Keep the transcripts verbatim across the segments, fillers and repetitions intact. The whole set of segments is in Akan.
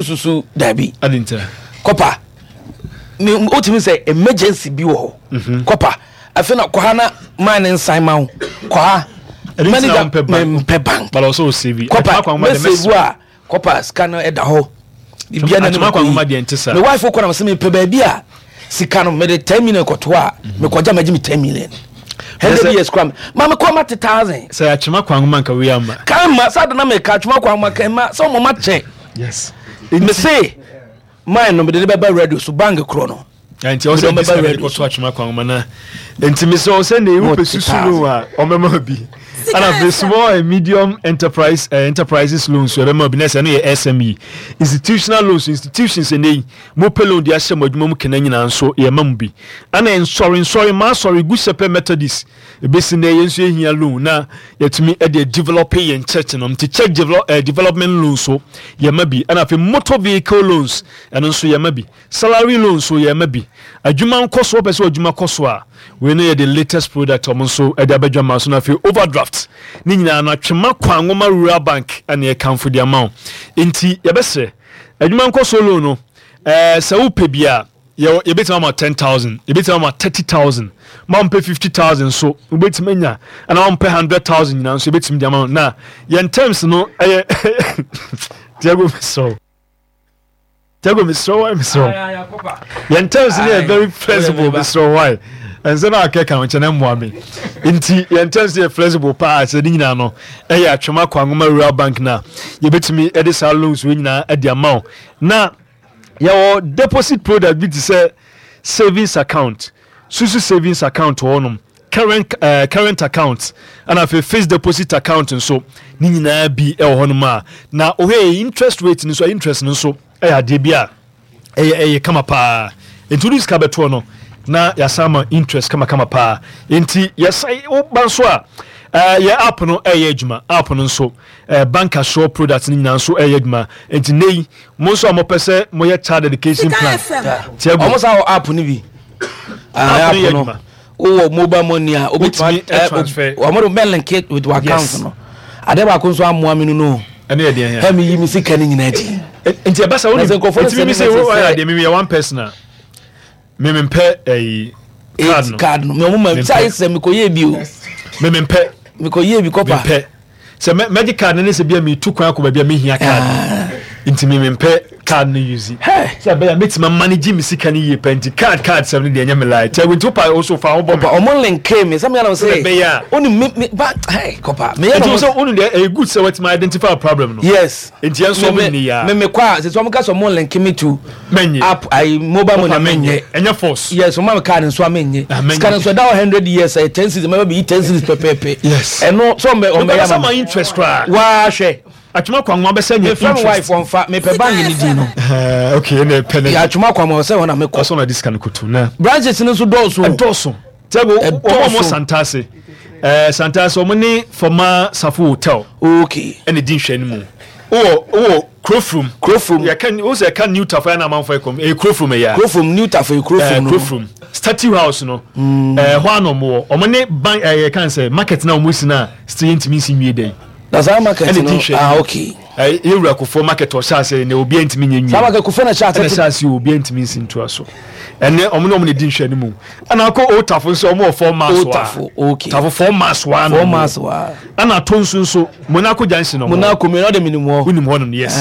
Susu dabi. Kɔpa mi o, tumi sɛ emergency bi wɔ hɔ. mhm. Kɔpa afei na kɔha na maa ne nsan ma wo kɔha. Manager, mpɛ bank. Kɔpa mɛ save a, kɔpa sika no ɛda hɔ biribiara na ne ma kɔ yi. Me wife kɔ na sɛ mepɛ baabi a sika no mede ten million kɔto a, mekɔgya magye me ten million hundred years kora ma mekɔ ma te thousand. Sɛ Atwema Kwanwoma nka wei ama. Kan ma sɛ adana meka Atwema Kwanwoma kan ma sɛ ɔmɔ ma kyɛ. Yes me se mine no, mede ne bɛba radio so, bank korɔ no. Nti ɔsɛ bi sika de kɔto Atwema Kwanwoma na nti mesɛ ɔsɛ ne wopɛ susu no a, ɔmɛma bi. Ana afei small and medium enterprise uh, enterprises loans so ɛbɛma bi na sɛ ɛno yɛ S M E. Institutional loans, institutions ɛnɛ yi mopɛ loan de ahyɛ mo adwuma mu kena nyinaa nso, yɛma mu bi. Ana nsɔre nsɔre maa sɔre gu Shepherd Methodist ebesi nɛ, yɛn nso yɛhia loan na yɛtumi de develop yɛn church no, nti church develop, uh, development loan so yɛma bi. Ɛna afei motor vehicle loans, ɛno nso yɛma bi. Salary loan so yɛma bi. Adwuma nkɔ so, wɔpɛ sɛ adwuma kɔ so a, wei no yɛ the latest product ɔmo nso de abɛdwa ma so. Na afei overdraft ne nyinaa no, Atwema Kwanwoma Rural Bank ɛne ɛkamfo de ama wo. Nti yɛbɛsrɛ, adwuma nkɔ so loan no, ɛɛ sɛ wopɛ bi a, yɛbɛtumi ama ten thousand, yɛbɛtumi ama thirty thousand, ma mpɛ fifty thousand so wobɛtumi anya, ɛna ma mpɛ hundred thousand nyinaa nso yɛbɛtumi de ama. Na yɛn terms no ɛyɛ, Tiago, mesrɛ, Tiago, mesrɛ wo, mesrɛ, yɛn terms no yɛ very flexible. Mesrɛ, why ɛnsɛ na akɛka ho kyɛ na mmoa me? Nti yɛn terms yɛ flexible paa. Sɛ ne nyinaa no ɛyɛ Atwema Kwanwoma Rural Bank na yɛbɛtumi ɛde saa loans wei nyinaa ɛde ama wo. Na yɛwɔ deposit product bi te sɛ savings account, susu savings account wɔ hɔnom, current uh, current account, ɛna afei fixed deposit account nso ne nyinaa bi ɛwɔ hɔnom a na ohwɛ interest rate no nso, interest no nso ɛyɛ adeɛ bi a ɛyɛ ɛyɛ kama paa. Nti wode sika bɛtoɔ no na yɛasan ma interest kamakama paa. Nti yɛsan woba nso a, uh, yɛ app no ɛyɛ adwuma. App no nso, uh, bank assure product no nyinaa nso ɛyɛ adwuma. Nti ne yi mo nso a mopɛ sɛ moyɛ child education plan. Tiago, ɔmo sa wɔ app no bi. App no yɛ adwuma. Wowɔ mobile money a, wobɛtumi transfer. Ɔmo de bɛ link it with your account no. Adeɛ baako nso amoa mi no no Ɛne yɛ deɛ? Ɛ mi yi mi sika ne nyinaa di. Nti ɛba sɛ wonim, nti mi sɛ wɔyɛ adeɛ, mi yɛ one person a mi mi mpɛ ɛyi card no. Card no mi ɔmo ma sɛ ayɛ sɛ mi kɔ yie bi o. Mi mi mpɛ. Mi kɔ yie bi, kɔpa. Mi mpɛ sɛ mɛgye card no ne sɛ bia mi tu kwan akɔ baabi a mi hia card no, nti mi mi mpɛ card no use sɛ ɛbɛyɛ a mɛtumi manage mi sika no yie pɛ. Nti card card sɛm no deɛ, ɛnyɛ mi lie. Kyɛ nti wopa wo so fa wo bɔ mi. Ɔmo link mi sɛ mi yɛn sɛ ɛbɛyɛ a oni mi mi ba hey, kɔpa mi yɛn. Nti sɛ onu deɛ, ɛyɛ good sɛ wɔtumi identify problem no. Yes. Nti yɛn nso ɔmo ni ya. Mi mi kɔ a, sɛ ɔmo ka sɛ ɔmo link mi to mɛnye app ayi mobile money, mɛnye. Ɛnyɛ force. Yes, ɔmo mi card nso a, mɛnye sika nso ɛda hɔ hundred years, ɛyɛ ten cedis, mɛbɛ bi yi ten cedis pɛpɛɛpɛ. Yes. Ɛno sɛ ɔmo bɛ ɔmo bɛ yɛ ama interest koraa. Waa hwɛ. Atwema Kwanwoma bɛsɛ nyɛ interest. Mefrɛ mi wife wɔnfa mepɛ bank ni din no. Ɛɛ ok, ɛna ɛpɛ ne. Yɛ Atwema Kwanwoma ɔsɛ hɔ na mekɔ. Ɔsɔ na di sika no koto na. Branches no nso dɔɔso. Ɛdɔɔso. Tiago, wɔn a wɔn Santase, ɛɛ Santase, wɔn ne former Safo Hotel. Ok. Ɛna di nhwɛ no mu. Wowɔ wowɔ Kurofrum. Kurofrum. Yɛka o sɛ ɛka New Tafo ɛna amanfo ɛkɔm ɛyɛ Kurofrum ɛyɛ. Kurofrum, New Tafo yɛ Kurofrum no. Kurofrum Statue House no, ɛɛ hɔ ano ɔmo wɔ, ɔmo ne bank ɛyɛ kan sɛ market na ɔmo si na still yɛntumi nsi nwie dɛ. Na saa market no, ah, okay. Ɛ yɛwura Kofoɔ market ɔhyɛ ase na obiara ntumi nye nwie. Saa market Kofoɔ na hyɛ ase. Ɛna hyɛ ase, obiara ntumi nsi ntoa so. Ɛnɛ ɔmo ne ɔmo na di nhwɛ no mu. Ɛna akɔ Old Tafo nso, ɔmo wɔ four miles wa. Old Tafo, okay. Tafo four miles wa. Four miles wa. Ɛna ato nso nso Monaco Junction ɔmo. Monaco mi na ɔde mi nim hɔ. Wonim hɔ nom, yes.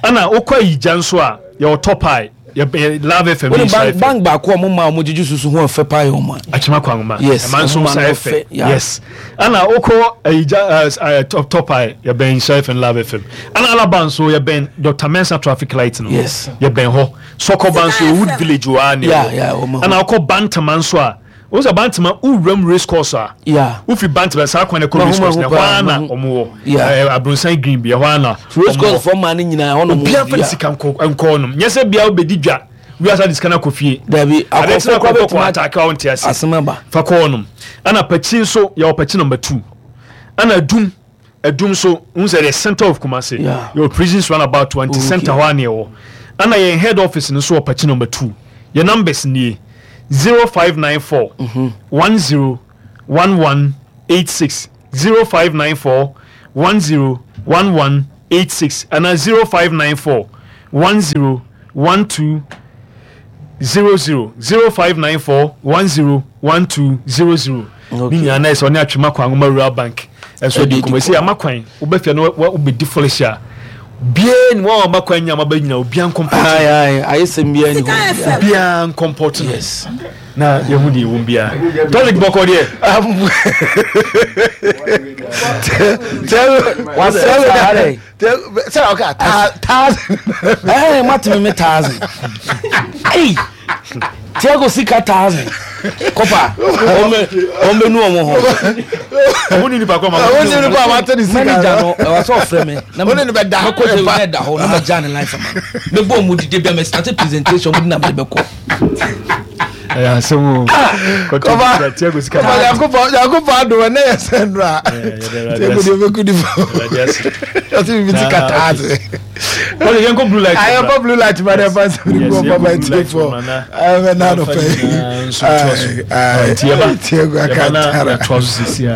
Ɛna okɔ Ayigya nso a, yɛwɔ Top Eye, yɛ Love F M. Wone bank bank baako a ɔmo ma ɔmo gyegye susu ho ɛfɛ paa yɛ ɔmo a. Atwema Kwanwoma. Yes. Ɛma nso nsa ɛfɛ. Yes. Ɛna okɔ Ayigya ɛɛ top top Eye, yɛbɛn Nhyira F M, Love F M. Ɛna Alaba nso, yɛbɛn Doctor Mensa traffic light no. Yes. Yɛbɛn hɔ. Sɔkɔba nso, Wood Village wɔ ha ne wɔ. Ɛna akɔ Bantama nso a, o sɛ Bantama wowuram race course a, wofi Bantama saa kwan kɔ race course na ɛhɔ ara na ɔmo wɔ Abronsan Green bi, ɛhɔ ara na race course fɔ maa ne nyinaa ɛhɔ nom. Obiara fɛ ne sika nkɔ nkɔ nom, nyɛ sɛ bia wobɛdi dwa wiase de sika no akɔ fie. Dabi, akɔfo kora bɛtumi ataake a wonte ase. Asɛm aba. Fa kɔ hɔ nom. Ɛna Pakyi nso, yɛwɔ Pakyi number two. Ɛna Adum, Adum nso n sɛ the center of Kumasi, yɛwɔ Prisons Roundabout twenty center hɔ a ne ɛwɔ. Ɛna yɛn head office no nso wɔ Pakyi number two. Yɛn numbers nie: zero five nine four one zero one one eight six, zero five nine four one zero one one eight six, ɛna zero five nine four one zero one two zero zero zero five nine four one zero one two zero zero. Ne nyinaa na ɛsɛ ɔne Atwema Kwan Nwoma Rural Bank ɛnso adi nkɔmɔ. Ɛsɛ ama kwan wobɛfia no wobɛdi fɔlɛhyɛ a biara ni wɔn a wɔma kwan nyinaa maba nyinaa obiara nkɔmpɔt. Ayɛ sɛm biara ni hɔ. Obiara nkɔmpɔt no. Yes. Na yɛhu deɛ ɛwɔ biara. Tɔlik bɔkɔ deɛ. Wasɛ sɛ ɔka thousand. Ɛɛ matumi mi thousand. Ɛyi Tiago sika thousand kɔpa wɔn bɛ nu wɔn ho. Wɔn ni nipa kɔ ma. Wɔn ni nipa ma tɛ ni sika. Manager no ɛwɔ sɛ ɔfrɛ mi. Wɔn ni ni bɛ da. Mɛ kɔ jɛ ne da hɔ na ma gya ne line sama. Mɛ bɔ ɔmu dide bi a mɛ start presentation ɔmu di na mɛ bɛ kɔ. Ɛyɛ asɛm o. Kɔba Tiago sika. Kɔba Yakubu Yakubu adum ɛnɛ yɛ sɛ nura. Tiago de bɛ ku di fɔ. Ɔsi mi ti ka taase. Wọ́n yẹn kó blue light. Ayɛ kó blue light ma dɛ fa nsɛm ni kó ɔba tie fɔ. Ɛmɛ n'a dɔ fɛ. Tiago aka taara. Yɛtoa so sisi a.